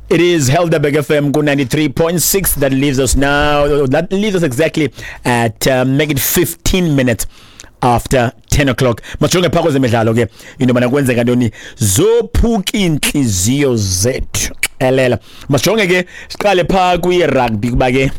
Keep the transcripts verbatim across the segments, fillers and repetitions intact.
It is Helderberg F M ku ninety-three point six. That leaves us now, that leaves us exactly at uh, make it fifteen minutes after ten o'clock. Majonge phaa kwezemidlalo ke, into yobana kwenzeka ntoni, zophuka iintliziyo zethu xelela. Masijonge ke, siqale phaa kwi-rugby, kuba ke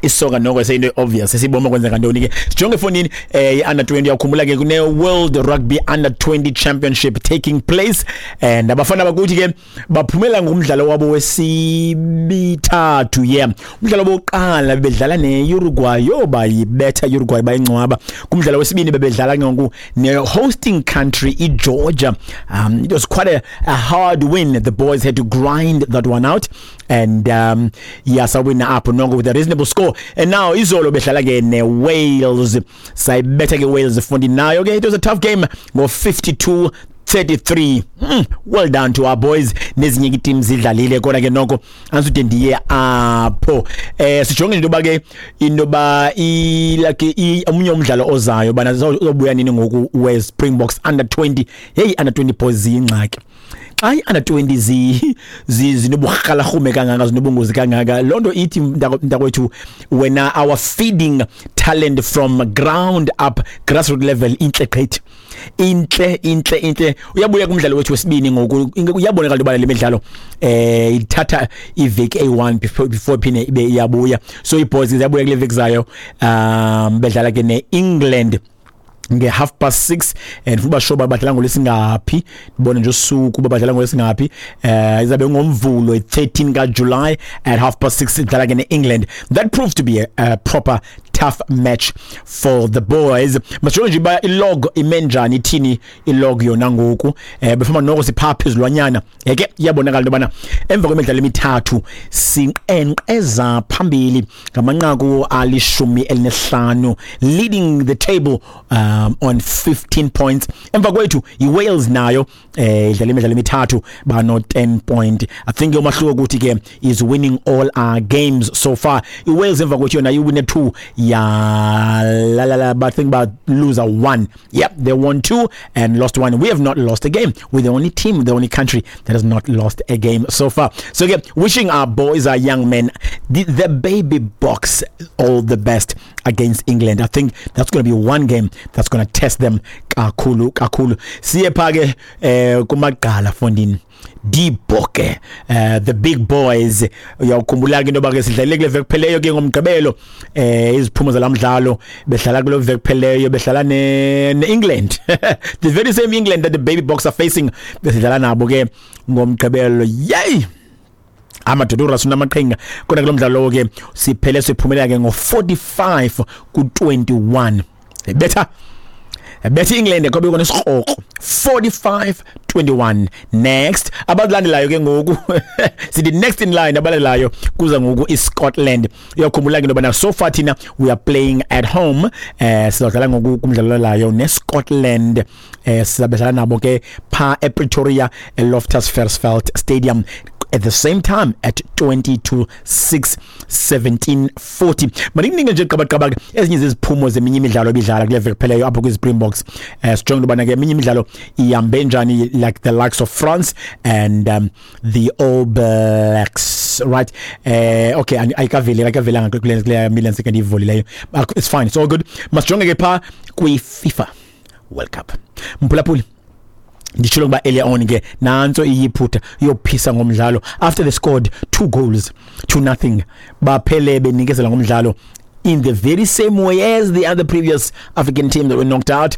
isoka noko seyinto obvious esiboma kwenzeka ntoni ke. Sijonge efondini, eh i-under twenty. Uyakhumbula ke kune World Rugby Under twenty Championship taking place, and abafana bakuthi ke baphumela ngumdlalo wabo wesibithathu. Yeah, umdlalo wokuqala bedlala ne-Uruguay, yo, bayibetha Uruguay, bayingcwaba. Kumdlalo wesibini bebedlala ngoku ne-hosting country iGeorgia. um it was quite a, a hard win. The boys had to grind that one out and um yeah, sawina apho noko with a reasonable score. And now izolo bedlala ke ne-Wales, sayibetha ke Wales fundi nayo ke. It was a tough game ngo fifty-two thirty-three. mm, well done to our boys. Nezinye ii-teams zidlalile, kodwa ke noko anisude ndiye apho. eh sijonge into yoba ke into yoba like omunye umdlalo ozayo bana uzobuya nini ngoku we-Springboks under twenty. Hey, under twenty boys ziyingxaki. Xa i-under twenty zi zinoburhalarhume kangaka, zinobungozi kangaka, loo nto ithi, mntakwethu, wena, our feeding talent from ground up, grassroot level, intle gqithi, intle, intle, intle. Uyabuya kumdlalo wethu wesibini ngoku. Uyabonakala into yoba le midlalo eh ithatha iveki eyi-one before before iphinde ibe iyabuya. So ii-boys ziyabuya kule veki zayo, um bedlala ke ne-England nge-half past six, and futhi basho badlala ngolwesingaphi? Ndibone nje usuku uba badlala ngolwesingaphi. eh izabe ngoMvulo thirteen kaJuly at half past six, idlala ke ne-England. That proved to be a, a proper tough match for the boys. Masijonge nje uba ilog ime njani, ithini ilog yona ngoku. eh befoma noko siphaa phezulwanyana yeke. Iyabonakala into yobana emva kwemidlalo emithathu sinqenqeza phambili ngamanqaku alishumi elinesihlanu, leading the table um, on fifteen points. Emva kwethu iWales, nayo eh idlala imidlalo emithathu, bano ten point. I think umahluko ukuthi ke is winning all our games so far. IWales emva kwethu yona iwine two ya la la la, but I think about lose a one. Yep, they won two and lost one. We have not lost a game. We're the only team, the only country that has not lost a game so far. So again, wishing our boys, our young men, the, the Baby Boks, all the best against England. I think that's going to be one game that's going to test them kakhulu kakhulu. Siye pha ke eh kumaqala fondini, Die Bokke, uh, the big boys. Uyawukhumbula ke into yoba ke sidlalile kule veki kupheleyo ke ngoMgqibelo. eh iziphumo zalamdlalo, bedlala kule veki kupheleyo, bedlala ne, ne England, the very same England that the Baby Boks are facing, besidlala nabo ke ngoMgqibelo. Yay, amadoda, uRassie unamaqhinga. Kodwa kulo mdlalo ke siphele siphumelela ke ngo forty-five ku twenty-one. Betha betha England kwabe kona isikrokro, forty-five twenty-one. Next abalandelayo ke ngoku, sithi next in line, abalandelayo kuza ngoku iScotland. Uyakhumbula ke into yobana so far thina we are playing at home. eh sizodlala ngoku kumdlalo layo neScotland. eh sizabedlala nabo ke pha ePretoria, eLoftus Versfeld Stadium, at the same time at twenty to six, seventeen forty. Manikunike nje qabaqaba ezinye zeziphumo zeminye imidlalo ebidlala kule veki kupheleyo apho kwi-Springboks. eh sijonge ubana ke eminye imidlalo ihambe njani, like the likes of France and um, the All Blacks, right? eh okay, ayikaveli, ayikavelanga kule kule million second ivulileyo. It's fine, it's all good. Masijonge ke pha kwi-FIFA World Cup, mphulaphuli. Nditshilo ukuba earlier on ke nantso iyiphutha yophisa ngomdlalo. After they scored two goals to nothing, baphele benikezela ngomdlalo in the very same way as the other previous African team that were knocked out,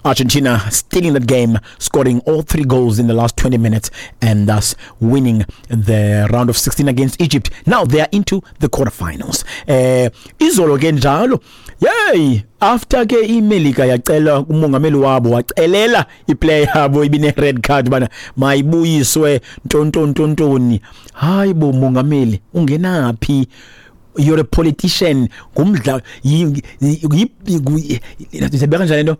Argentina, stealing that game, scoring all three goals in the last twenty minutes and thus winning the round of sixteen against Egypt. Now they are into the quarterfinals. Eh izolo ke njalo, yey, after ke iMelika yacela umongameli wabo, wacelela iplayer yabo ibine red card bana mayibuyiswe, ntontontontoni. Hayi bo, mongameli ungenaphi? You're a politician. Ngumdlalo, sibeka njani lento,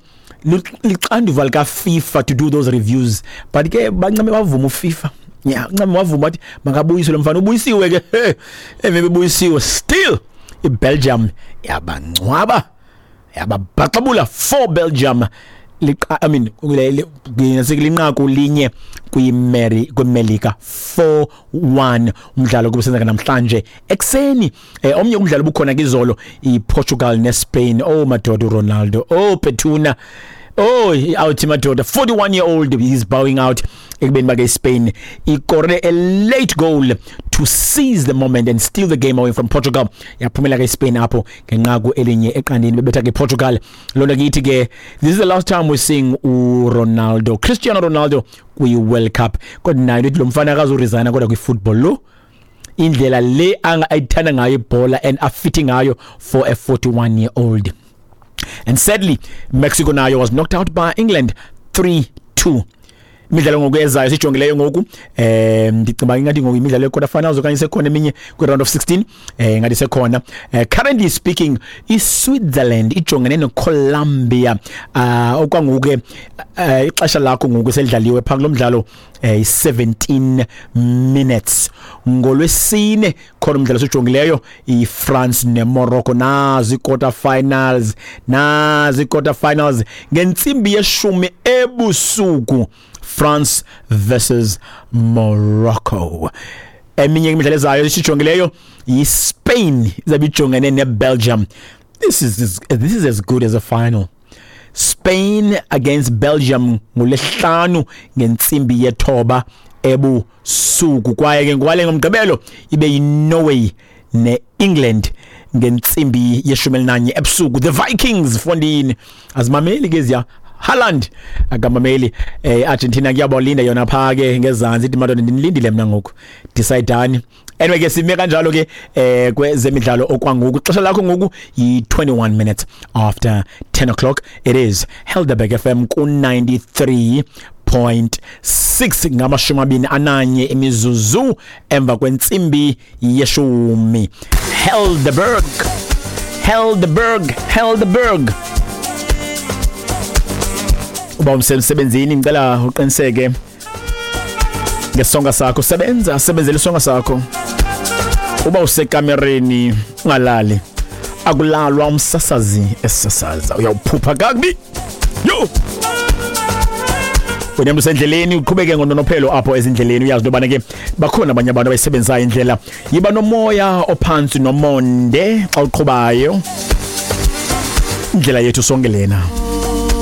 lixanduva lika FIFA to do those reviews, but ke bancame bavuma uFIFA. Yeah, ncame wavuma, wathi makabuyiswe lo mfana. Ubuyisiwe ke. Emve buyisiwe, still iBelgium yabangcwaba, yababhaxabula four Belgium. liqa I mean linqaku linye kwiMeri kwiMelika four one umdlalo kubusenzeka namhlanje ekseni. Eh, omnye umdlalo bukhona kizolo iPortugal neSpain. Oh madoda, Ronaldo, oh Petuna, oh out madoda, forty-one year old, he's bowing out ekubeni bake Spain ikore a late goal to seize the moment and steal the game away from Portugal. Yaphumela ke Spain apho ngenqaku elinye eqandeni, bebetha ke Portugal. Lona kithi ke this is the last time we're seeing uRonaldo, Cristiano Ronaldo kwi World Cup. Kodwa nayo lo mfana akazoresigna kodwa kwi football lo indlela le ayithanda ngayo ibhola and afitting ngayo for a forty-one year old. And sadly Mexico nayo was knocked out by England three two. Imidlalo ngokuyezayo sijongileyo ngoku eh ndicinga ingathi ngoku imidlalo ye quarter finals okanye sekhona eminye kwi round of sixteen eh ngathi sekhona. Eh, currently speaking iSwitzerland ijongene neColombia. Uh, okwangoku ke uh, ixesha lakho ngoku selidlaliwe pha kulomdlalo eh seventeen minutes. Ngolwesine khona umdlalo sijongileyo iFrance neMorocco, nazi quarter finals, nazi quarter finals ngentsimbi yeshumi ebusuku, France versus Morocco. Eminye imidlalo ezayo esijongileyo yiSpain izabe ijongene neBelgium. This is this is as good as a final. Spain against Belgium ngolesihlanu ngentsimbi yethoba ebusuku. Kwaye ke ngwale ngomgqibelo ibe yiNorway neEngland ngentsimbi yeshumi elinanye ebusuku. The Vikings fondini azimameli ke ziya Haaland akamameli. eh, Argentina kuyabalinda yona pha ke ngezantsi ithi madoda ndinilindile mina ngoku, decide. Anyway ke sime kanjalo ke eh kwezemidlalo okwangoku. Ixesha lakho ngoku yi twenty-one minutes after ten o'clock. It is Helderberg F M ku ninety-three point six ngamashumi amabini ananye imizuzu emva kwentsimbi yeshumi. Helderberg, Helderberg, Helderberg. Uba umsebenzini ngicela uqiniseke ngesonga sakho, sebenza sebenzela isonga sakho. Uba usekamereni ungalali, akulalwa umsasazi esasaza uyawuphupha kakubi. Yo wena usendleleni uqhubeke ngononophelo apho ezindleleni, uyazi nobana ke bakhona abanye abantu abayisebenzayo indlela. Yiba nomoya ophansi nomonde xa uqhubayo, indlela yethu sonke lena.